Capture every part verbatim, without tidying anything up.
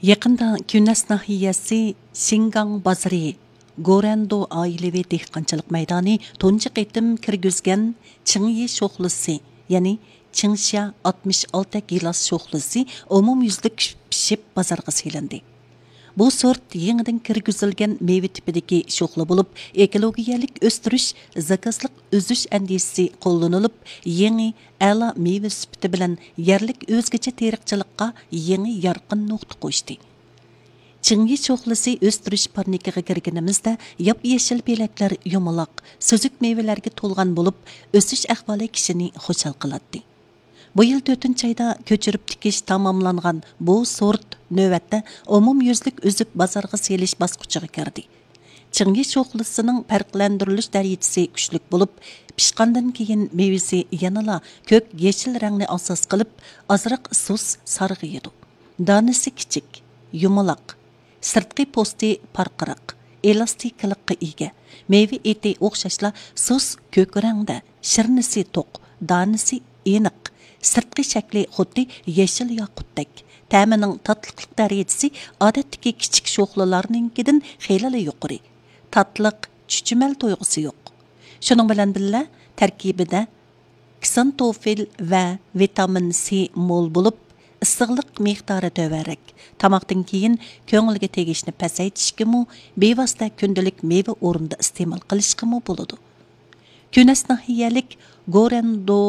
يېقىندا كۈنەس ناھىيەسى شىنگاڭ بازىرى گورەندو ئائىلىۋى دېھقانچىلىق مەيدانى تۇنجى قېتىم كىرگۈزگەن چىڭيى شوخلىسى، يەنى چىڭشيا ئاتمىش ئالتە گىلاس شوخلىسى ئومۇميۈزلۈك پىشىپ بازارغا سېلىندى. بۇ سورت يېڭىدىن كىرگۈزۈلگەن مېۋە تىپىدىكى شوخلا بولۇپ، ئېكولوگىيەلىك ئۆستۈرۈش، زاكازلىق ئۈزۈش ئەندىزىسى قوللىنىلىپ، يېڭى، ئەلا مېۋە سۈپىتى بىلەن يەرلىك ئۆزگىچە تېرىقچىلىققا يېڭى يارقىن نۇقتا قوشتى. چىڭيى شوخلىسى ئۆستۈرۈش پارنىكىغا كىرگىنىمىزدە، ياپيېشىل پېلەكلەر يۇمىلاق، سۈزۈك مېۋىلەرگە تولغان بولۇپ، ئۆسۈش ئەھۋالى كىشىنى خۇشال قىلاتتى. بۇ يىل تۆتىنچى ئايدا كۆچۈرۈپ تىكىش تاماملانغان بۇ سورت نۆۋەتتە ئومۇميۈزلۈك ئۈزۈپ بازارغا سېلىش باسقۇچىغا كىردى. چىڭيى شوخلىسىنىڭ پەرقلەندۈرۈلۈش دەرىجىسى كۈچلۈك بولۇپ، پىشقاندىن كېيىن مېۋىسى يەنىلا كۆك يېشىل رەڭنى ئاساس قىلىپ، ئازراق سۇس سارغىيىدۇ. دانىسى كىچىك، يۇمىلاق، سىرتقى پوستى پارقىراق، ئېلاستىكىلىققا ئىگە. مېۋە ئېتى ئوخشاشلا سۇس كۆك رەڭدە، شىرنىسى توق، دانىسى ئېنىق، سىرتقى شەكلى خۇددى يېشىل ياقۇتتەك. تەمىنىڭ تاتلىقلىق دەرىجىسى ئادەتتىكى كىچىك شوخلىلارنىڭكىدىن خېلىلا يۇقىرى. تاتلىق، چۈچۈمەل تۇيغۇسى يوق. شۇنىڭ بىلەن بىللە، تەركىبىدە كسانتوفىل ۋە ۋىتامىن سى مول بولۇپ، ئىسسىقلىق مىقدارى تۆۋەنرەك. تاماقتىن كېيىن كۆڭۈلگە تېگىشنى پەسەيتىشكىمۇ، بىۋاسىتە كۈندىلىك مېۋە ئورنىدا ئىستېمال قىلىشقىمۇ بولىدۇ. كۈنەس ناھىيەلىك گورەندو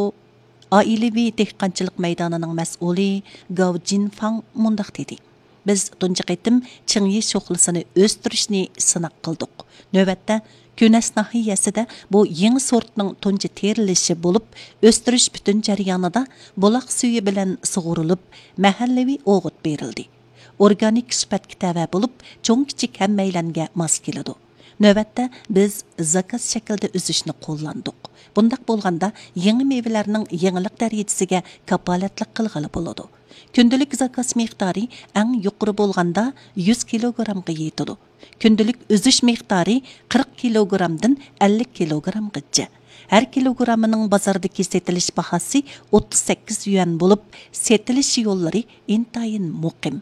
ئائىلىۋى دېھقانچىلىق مەيدانىنىڭ مەسئۇلى گاۋ جىنفاڭ مۇنداق دېدى: بىز تۇنجى قېتىم چىڭيى شوخلىسىنى ئۆستۈرۈشنى سىناق قىلدۇق. نۆۋەتتە، كۈنەس ناھىيەسىدە بۇ يېڭى سورتنىڭ تۇنجى تېرىلىشى بولۇپ، ئۆستۈرۈش پۈتۈن جەريانىدا بۇلاق سۈيى بىلەن سۇغۇرۇلۇپ، مەھەللىۋى ئوغۇت بېرىلدى. ئورگانىك سۈپەتكە تەۋە بولۇپ، چوڭ-كىچىك ھەممەيلەنگە ماس كېلىدۇ. نۆۋەتتە بىز زاكاز شەكلىدە ئۈزۈشنى قوللاندۇق. بۇنداق بولغاندا، يېڭى مېۋىلەرنىڭ يېڭىلىق دەرىجىسىگە كاپالەتلىك قىلغىلى بولىدۇ. كۈندىلىك زاكاز مىقدارى ئەڭ يۇقىرى بولغاندا يۈز كىلوگرامغا يېتىدۇ. كۈندىلىك ئۈزۈش مىقدارى قىرىق كىلوگرامدىن ئەللىك كىلوگرامغىچە. ھەر كىلوگرامىنىڭ بازاردىكى سېتىلىش باھاسى ئوتتۇز سەككىز يۈەن بولۇپ، سېتىلىش يوللىرى ئىنتايىن مۇقىم.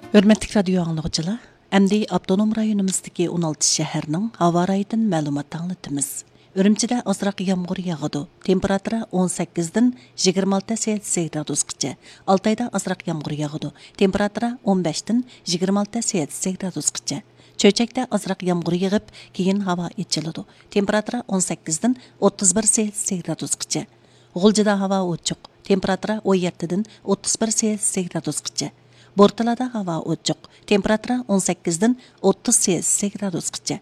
ھۆرمەتلىك رادىيو ئاڭلىغۇچىلار، ئەمدى ئاپتونوم رايونىمىزدىكى ئون ئالتە شەھەرنىڭ ھاۋا رايىدىن مەلۇمات ئاڭلىتىمىز. ئۈرۈمچىدە ئازراق يامغۇر ياغىدۇ. تېمپېراتۇرا ئون سەككىزدىن يىگىرمە ئالتە سېلسىيە گرادۇسقىچە. ئالتايدا ئازراق يامغۇر ياغىدۇ. تېمپېراتۇرا ئون بەشتىن يىگىرمە ئالتە سېلسىيە گرادۇسقىچە. چۆچەكتە ئازراق يامغۇر يېغىپ، كېيىن ھاۋا ئېچىلىدۇ. تېمپېراتۇرا ئون سەككىزدىن ئوتتۇز بىر سېلسىيە گرادۇسقىچە. غۇلجىدا ھاۋا ئوچۇق. تېمپېراتۇرا ئون يەتتىدىن ئوتتۇز بىر سېلسىيە گرادۇسقىچە. بورتالادا ھاۋا ئوچۇق. تېمپېراتۇرا ئون سەككىزدىن ئوتتۇز سېلسىيە گرادۇسقىچە.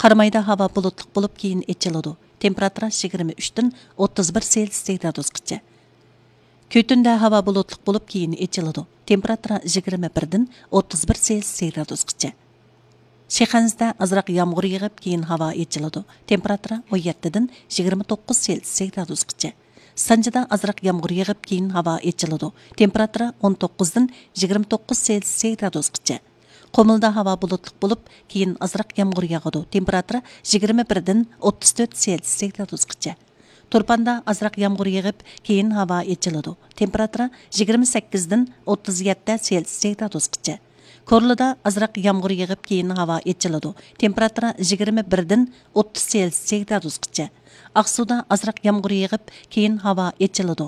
قارامايدا ھاۋا بۇلۇتلۇق بولۇپ، كېيىن ئېچىلىدۇ. تېمپېراتۇرا يىگىرمە ئۈچتىن ئوتتۇز بىر سېلسىيە گرادۇسقىچە. كۈتۈندە ھاۋا بۇلۇتلۇق بولۇپ، كېيىن ئېچىلىدۇ. تېمپېراتۇرا يىگىرمە بىردىن ئوتتۇز بىر سېلسىيە گرادۇسقىچە. شىخەنزىدە ئازراق يامغۇر يېغىپ، كېيىن ھاۋا ئېچىلىدۇ. تېمپېراتۇرا ئون يەتتىدىن يىگىرمە توققۇز سېلسىيە گرادۇسقىچە. سانجىدا ئازراق يامغۇر يېغىپ، كېيىن ھاۋا ئېچىلىدۇ. تېمپېراتۇرا ئون توققۇزدىن يىگىرمە توققۇز سېلسىيە گرادۇسقىچە. قۇمۇلدا ھاۋا بۇلۇتلۇق بولۇپ، كېيىن ئازراق يامغۇر ياغىدۇ. تېمپېراتۇرا يىگىرمە بىردىن ئوتتۇز تۆت سېلسىيە گرادۇسقىچە. تۇرپاندا ئازراق يامغۇر يېغىپ، كېيىن ھاۋا ئېچىلىدۇ. تېمپېراتۇرا يىگىرمە سەككىزدىن ئوتتۇز يەتتە سېلسىيە گرادۇسقىچە. كورلىدا ئازراق يامغۇر يېغىپ، كېيىن ھاۋا ئېچىلىدۇ. تېمپېراتۇرا يىگىرمە بىردىن ئوتتۇز سېلسىيە گرادۇسقىچە. ئاقسۇدا ئازراق يامغۇر يېغىپ، كېيىن ھاۋا ئېچىلىدۇ.